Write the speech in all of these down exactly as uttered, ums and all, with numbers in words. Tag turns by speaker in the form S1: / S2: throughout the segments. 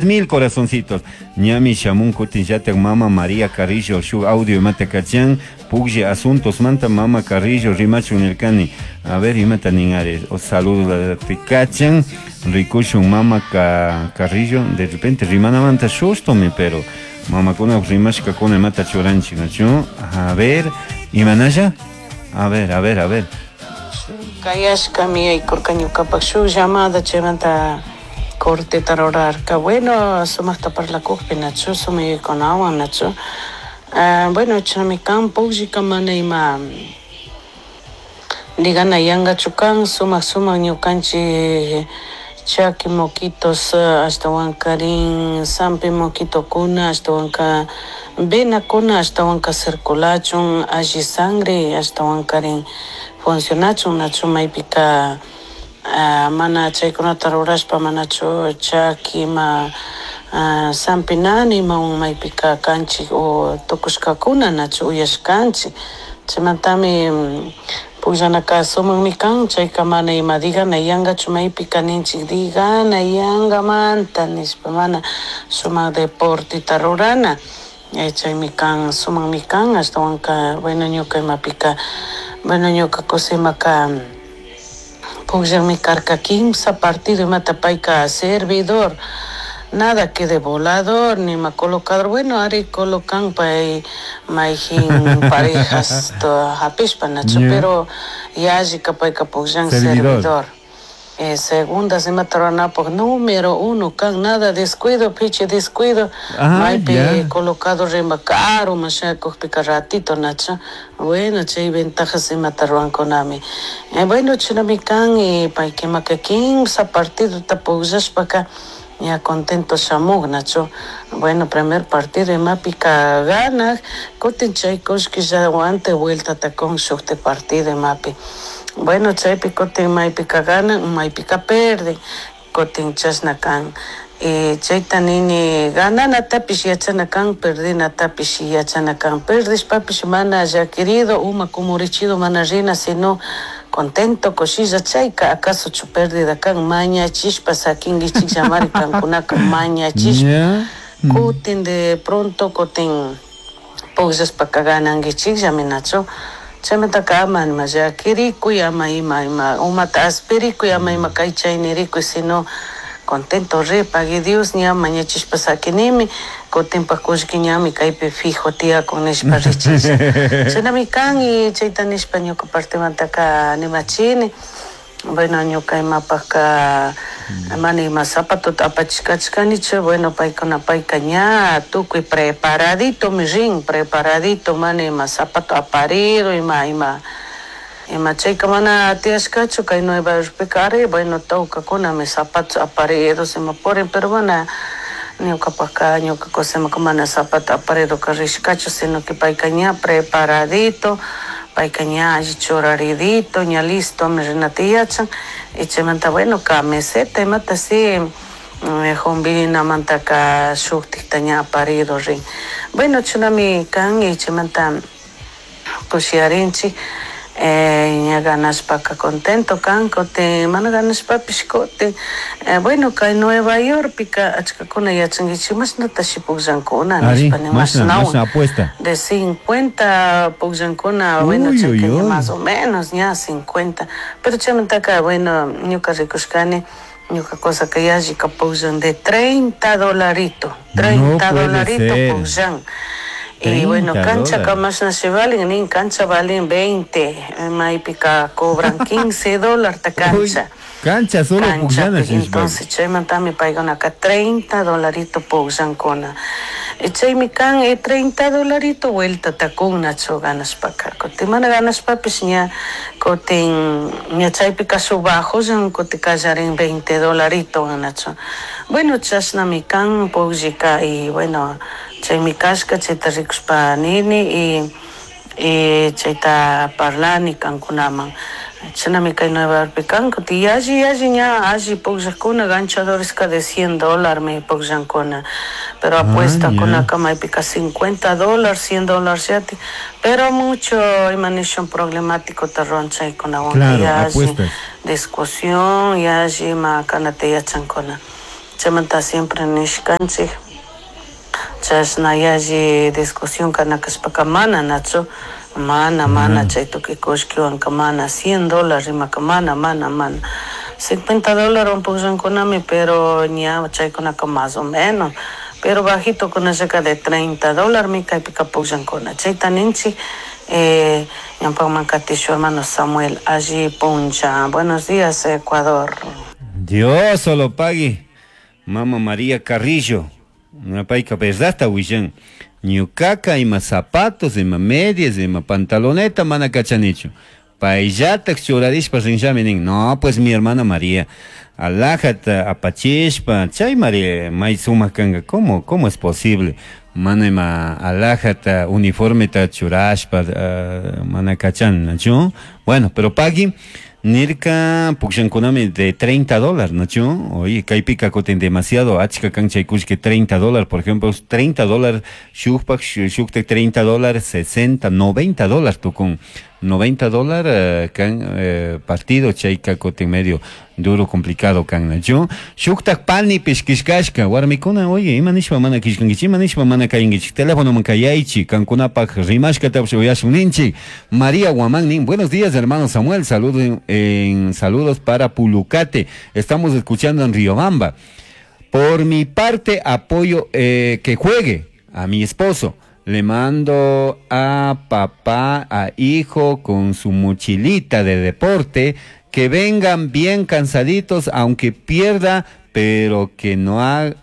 S1: Mil corazoncitos. Ñami shamun kutinllatak mama María Carrillo shuk audio imata kachan puglla asuntos manta mama Carrillo rimachun nirkani. A ver, imata nin, o saludo te kachan rikushun mama Ca Carrillo, de repente rimanamanta sustomi, pero mamakuna rimashkakuna imata churanchik, nachu? A ver, imanalla? A ver, a ver, a ver.
S2: Kayashkami yaykurka ñukapak shuk llamada chaymanta corteta rurarka. Bueno, sumakta parlakukpi, nachu, sumaykunawan, nachu. uh, bueno chashnami kan pukllika, mana ima nigana yankachu kan, sumak sumak ñukanchik chaki moquitos, ashtawankarin sampi moquitokuna, ashtawanka venakuna ashtawanka circulachun, alli sangre ashtawankarin funcionachun, nachu. Maypika uh, mana chaykunata rurashpa manachu chaki ima uh, sampi nani imawan maypika kanchik o tukushkakuna, nachu, uyashkanchik. Chaymantami pukllanaka sumakmi kan. Chayka mana ima digana yankachu, maypika ninchik digana yankamanta nishpa, mana, sumak deporteta rurana, chaymi kan, sumakmi kan. Ashtawanka, bueno, ñuka imapika, bueno, ñuka kusimaka pukllakmi karka kimsa partido imata, payka servidor, nada que de volador nima colocador. Bueno, ari colocan pay mayjin parejas hapishpa, nachu, pero yallika payka pukllan servidor. Eh, segundas imata ruranapuk número uno kan, nada descuido, pichi descuido.
S1: Ah,
S2: maypi
S1: ya.
S2: Colocado rima karuman shayakukpika ratito, nachu. Bueno, chay ventajas imata rurankunami. eh, bueno chinami kan. Y paykimaka kimsa partidota pukllashpaka ña contento shamuk, nachu. Bueno, primer partido imapika ganak, kutin chay kullkillawan vueltata kun shukti partido imapi. Bueno, chaypi kutin maypika ganan, maypika perden, kutin chashna kan. Y chayta nini, gananatapish yachana kan, perdinatapish yachana kan. Perdishpapish mana llakirido, uma kumurichido mana rina, sino contento, kushilla. Chayka acaso chu pérdida kan? Mañachishpa sakinkichik kankunaka, mañachishpa.
S1: Ya.
S2: Kutin de pronto kutin pukllashpaka ganankichikllami, nachu. Chaymantaka ama ima llakirikuy, ama ima ima umata aspirikuy, ama ima kay chay nirikuy, sino contento ri, pagui Dios, ña mañachishpa sakinimi, kutinpak kullki ñami kaypi fijo tiyakun nishpa richilla. Chashnami kan. Y chayta nishpa ñuka partemantaka animachini. Bueno, ñuka imapaka mana ima zapatota apachishkachkanichu. Bueno, paykuna, payka ña tukuy preparaditomi rin, preparadito, mana ima zapato aparido, ima ima ima chayka mana tiyashkachu kay Nueva Yorkpika. Ari, bueno, tawkakunami zapatos aparidos ima purin, pero mana ñukapaka, ñuka kusimaka mana zapato aparidoka rishkachu, sino que payka ña preparadito, payka ña alli churaridito, ña listomi rinata yachan. Y chaymanta, bueno, camiseta imata si jumbinamantaka shuktikta ña aparido rin. Bueno, chashnami kan. Y chaymanta kushiyarinchik. eh, ña ganashpaka contento kan, kutin mana ganashpapish kutin eh, bueno, kay Nueva Yorkpika achkakuna yachankichik mashnatashi pukllankuna
S1: Ari,
S2: nishpa ni
S1: mashna,
S2: mashnawan
S1: mashna apuesta.
S2: De cincuenta pukllankuna. Bueno,
S1: Uy, uy,
S2: chayka ña
S1: uy.
S2: más o menos ña cincuenta, pero chaymantaka, bueno, ñuka rikushkani, ñuka kusaka yallika pukllan de treinta dolarito,
S1: No
S2: treinta
S1: puede
S2: dolarito
S1: ser.
S2: pukllan. Y bueno,
S1: treinta
S2: cancha
S1: dólares.
S2: mashna shi valin nin, cancha valin veinte, maypika cobran quince dólares ta
S1: Uy,
S2: cancha.
S1: cancha solo
S2: Cancha
S1: pukllana.
S2: Entonces chaymantami paykunaka treinta dolarito pukllankuna. Y chaymi kan, eh, treinta dolarito vueltata kun, nachu, ganashpaka. Kutin mana ganashpapish ña kutin ña chaypika shuk bajollan kutin kallarin veinte dolarito, nachu. Bueno, chashnami kan pukllika. Y bueno, chaymi kashka, chayta rikushpa nini y y chayta parlani kankunaman. Chashnami kay Nueva Yorkpi kan. Kutin yalli yalli ña alli pukllakuna ganchadoreska de cien dólar mi pukllankuna, pero
S1: Ah,
S2: apuesta
S1: ya.
S2: kunaka maypika cincuenta dólares, cien dólares yati, pero mucho ima nishun problemático ta ruran chaykunawanka.
S1: Claro,
S2: Yalli
S1: apuestas.
S2: Discusión yalli ima kanata yachankuna. Chaymanta siempre nishkanchik chashna yalli discusión kana kashpaka mana nachu mana mana chay tukuy kullkiwanka mana cien dólar rimaka mana mana mana cincuenta dólarwan pukllankunami, pero ña chaykunaka más o menos, pero bajito kunallaka de treinta dólarmi kaypika pukllankuna. Chayta ninchik eh, ñawpakman katishu hermano Samuel alli puncha. Buenos días, Ecuador.
S1: Dios solo pague. Mama María Carrillo. Payka verdadta willan. Ñukaka ima zapatos, ima medias, ima pantaloneta mana kachanichu. Payllatak churarishpa rinllami nin. No, pues mi hermana María. Alajata apachishpa, chay María may sumak kanka. ¿Cómo, cómo es posible? Mana ima alajata uniformeta churashpa uh, mana kachan, ¿no? Bueno, pero pagui nirka pukshankunami de treinta dólares, ¿no? Oye, kaypika kutin demasiado achka kan chay kullki treinta dólares, por ejemplo, treinta dólares shukpak shukta treinta dólares, sesenta, noventa dólares tukun. noventa dólares uh, kan uh, partido chayka kutin medio duro complicado kan, ¿no? Shuktak pani pishkishkashka warmikuna, oye, ima nishpa mana kishkankichik, ima nishpa mana kayinkichik, teléfono man kayaychi, kankunapak rimashkatapish uyashun ninchik. María Guamán nin, buenos días hermano Samuel, saludos en, en, saludos para Pulucate, estamos escuchando en Riobamba. Por mi parte apoyo eh, que juegue a mi esposo. Le mando a papá, a hijo con su mochilita de deporte, que vengan bien cansaditos, aunque pierda, pero que no haga,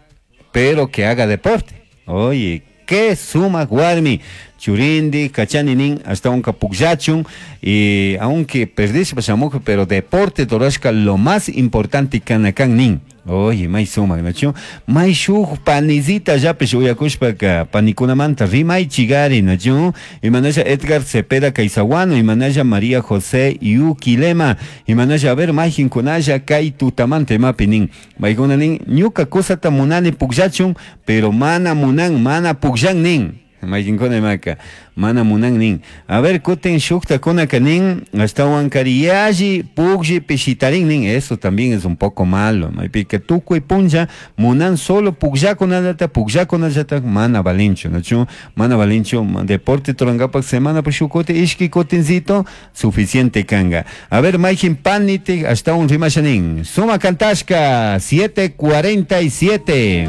S1: pero que haga deporte. Oye, qué suma guarmi. Churindi, kachaninin, hasta un kapukllachun, y aunque perdiste pashamujo, pero deporte torashka lo más importante kanakan nin. Oye, may sumak, nachu? May shuk panizita yapish uyakushpaka panikunamanta rimay chigari, nachu? Imanasha Edgar Cepeda Caizaguano, imanasha María José Yuquilema, imanasha, a ver, mayjinkunalla kay tutamanta imapi nin. Maykuna nin, ñuka kusata munani pukllachun, pero mana munan, mana pukllan nin. Maykinkuna imaka, mana munan nin. A ver, kutin shuktakunaka nin, ashtawan kariyalli, puklli, pishitarin nin. Eso también es un poco malo. Maypika tukuy punlla, munan solo pukllakunallata, pukllakunallata, mana valinchu, nachu? Mana valinchu, deporte turangapak semana pushukote, ishki kutincito, suficiente kanga. A ver, maykin paniti, ashtawan rimasha nin. Suma kantashka, siete cuarenta y siete.